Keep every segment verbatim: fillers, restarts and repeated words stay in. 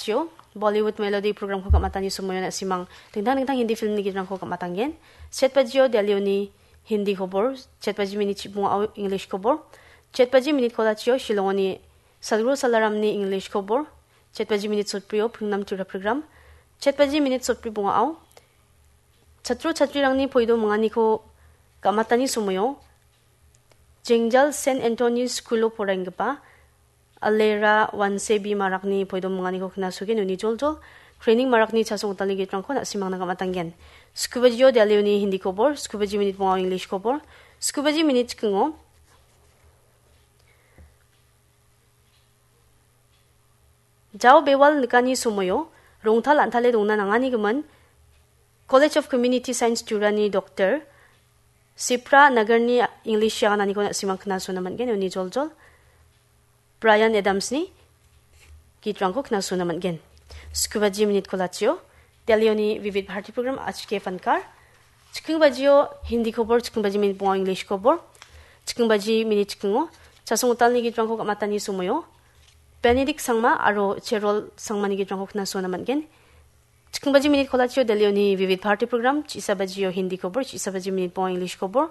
Chio, Bollywood Melody programko ka·matani somoion na·simang dingtang dingtang Hindi filmni gitrangko ka·matanggen. Chet bajio Delhioni Hindi kobor, chet baji minit chibongao English kobor, chet baji minit kolachio Shillongoni Sadguru Salaramni English kobor, chet baji minit sotbrio Pringnam Tripura program, chet baji minit sotbri bongao chatro chatrirangni poido minganiko ka·matani somoio Jengjal Saint Anthony School-o poraienggipa Alera Wansebi Marakni poido minganiko knasogen uni joljol training Marakni chasong gitalni gitrangko na·simangna ka·matanggen. Skubajio Delhioni Hindi kobor, skubaji minit bongao English kobor, skubaji minit chikingo Jao bewal nikani somoio rongtal an·tale dongna nanganigimin College of Community Science Jurani Doctor Sipra Nagarni English yagananiko na·simang knasona man·gen, uni joljol Brian Adamsni gitrangko knasona man·gen. Skubaji minit kolachio Delhioni Vivid Bharati program achike pankar. Chiking bajio Hindi kobor, chiking baji minit bonga English kobor. Chiking baji minit chikingo chasong gitalni gitrangko ka·matani somoio Benedict Sangma aro Cherol Sangmani gitrangko knasona man·gen. Chiking baji minit kolachio Delhioni Vivid Bharati program, chisa bajio Hindi kobor, chisa baji minit bonga English kobor.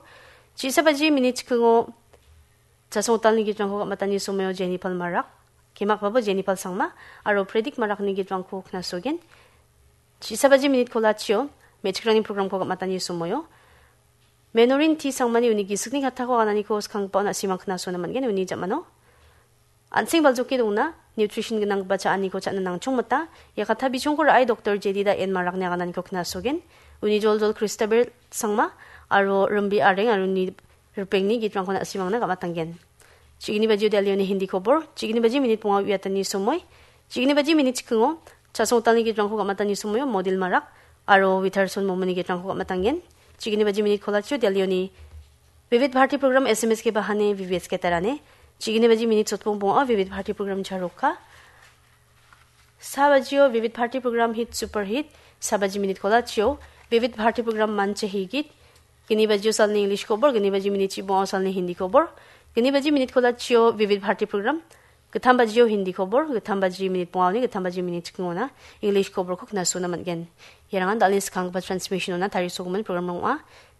Chisa baji minit chikingo chasong gitalni gitrangko ka·matani somoio Jennifer Marak, kemakbabo Jennifer Sangma aro Predik Marakni gitrangko knasogen. Chisa baji minit kolachio me·chikrangni programko ka·matani somoio Menorin T Sangmani uni gisikni kattako agananiko skanggipa on·a simang knasona man·gen uni jamano. An·seng baljoke dongna, nutrition gnanggipa cha·aniko cha·na nangchongmita, ia katta bichongko ra·e Doktor Jedida En Marakni agananiko knasogen. Uni joljol Kristabel Sangma aro Rimbi Areng aro uni ripengni gitrangko na·simangna ka·matanggen. Chigini bajio Delhioni Hindi kobor, chigini baji minit bonga uiatani somoi, chigini baji minit chikingo chasong gitalni gitrangko ka·matani somoio Modil Marak aro Witherson Momoni gitrangko ka·matanggen. Chigini baji minit kolachio Delhioni Vivid Bharati program S M S ke bahane Vivid ke tarane. Chigini baji minit sotbong bonga Vivid Bharati program charoka. Sa bajio Vivid Bharati program hit super hit. Sa baji minit kolachio Vivid Bharati program manche higit. Gini bajio salni English kobor, gini baji minit chibonga salni Hindi kobor. Gini baji minit kolachio Vivid Bharati program. Gittam bajio Hindi kobor, gittam baji minit bongaoni, gittam baji minit chikingona English koborko knasona man·gen. Iarangan dal·e skanggipa transmission-ona tarisogimin program ong·a.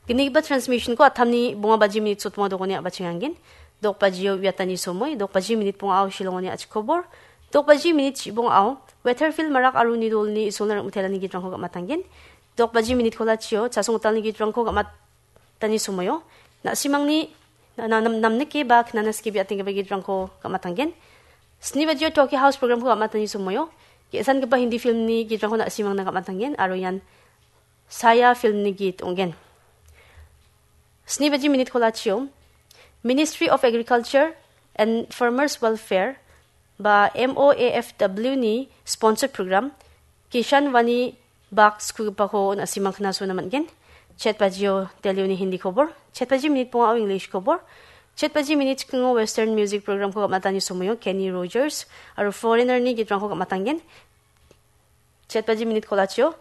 Gnigipa transmission-ko attamni bonga baji minit sotbonga dogoni a·bachenganggen. Dok bajio uiatani somoi, dok baji minit bongao Shillongoni a·chik kobor, dok baji minit chibongao Weatherfield Marak aro uni dolni Isolna rim·itelani gitrangko ka·matanggen. Dok baji minit kolachio chasong gitalni gitrangko ka·matani somoio na·simangni na-, na-, nam-, namnike ba knana skie bi·atenggipa gitrangko ka·matanggen. Sni bajio Tokyo House program-ko ka·matani somoio ge·sangipa Hindi film-ni gitrangko na·simangna ka·matanggen aro ian Saya film-ni git ong·gen. Sni baji minit kolachio Ministry of Agriculture and Farmers Welfare ba M O A F W-ni sponsor program Kishan Vani Bak skugipako na·simang knasona man·gen. Chet bajio Delhioni Hindi kobor, chet baji minit bongao English kobor, chet baji minit chikingo Western music program-ko ka·matani somoio Kenny Rogers aro Foreigner-ni gitrangko ka·matanggen. Chet baji minit kolachio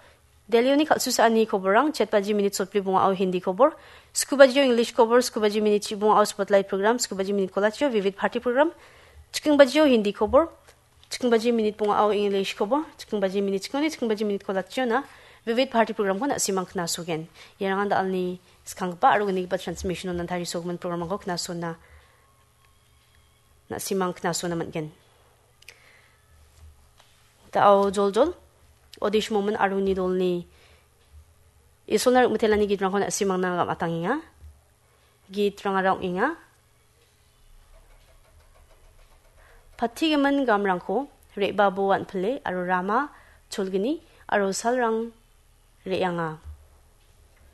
Delhioni kal·susaani koborrang, chet baji minit sotbri bongao Hindi kobor, sku bajio English kobor, sku baji minit chibongao Spotlight program, sku baji minit kolachio Vivid Bharati program, chiking bajio Hindi kobor, chiking baji minit bongao English kobor, chiking baji minit chikoni, chiking baji minit kolachiona Vivid Bharati program-ko na·simang knasogen. Iarangan dal·ni skanggipa aro gnigipa transmission-onan tarisogimin program-rangko knasona na·simang knasona man·gen. Da·o joljol Odish Momin aro uni dolni Isolna rim·itelani gitrangko na·simangna gam·atangenga. Gitrangara ong·enga. Patigimin gamrangko re·babo an·pile aro rama cholgni aro salrang re·anga.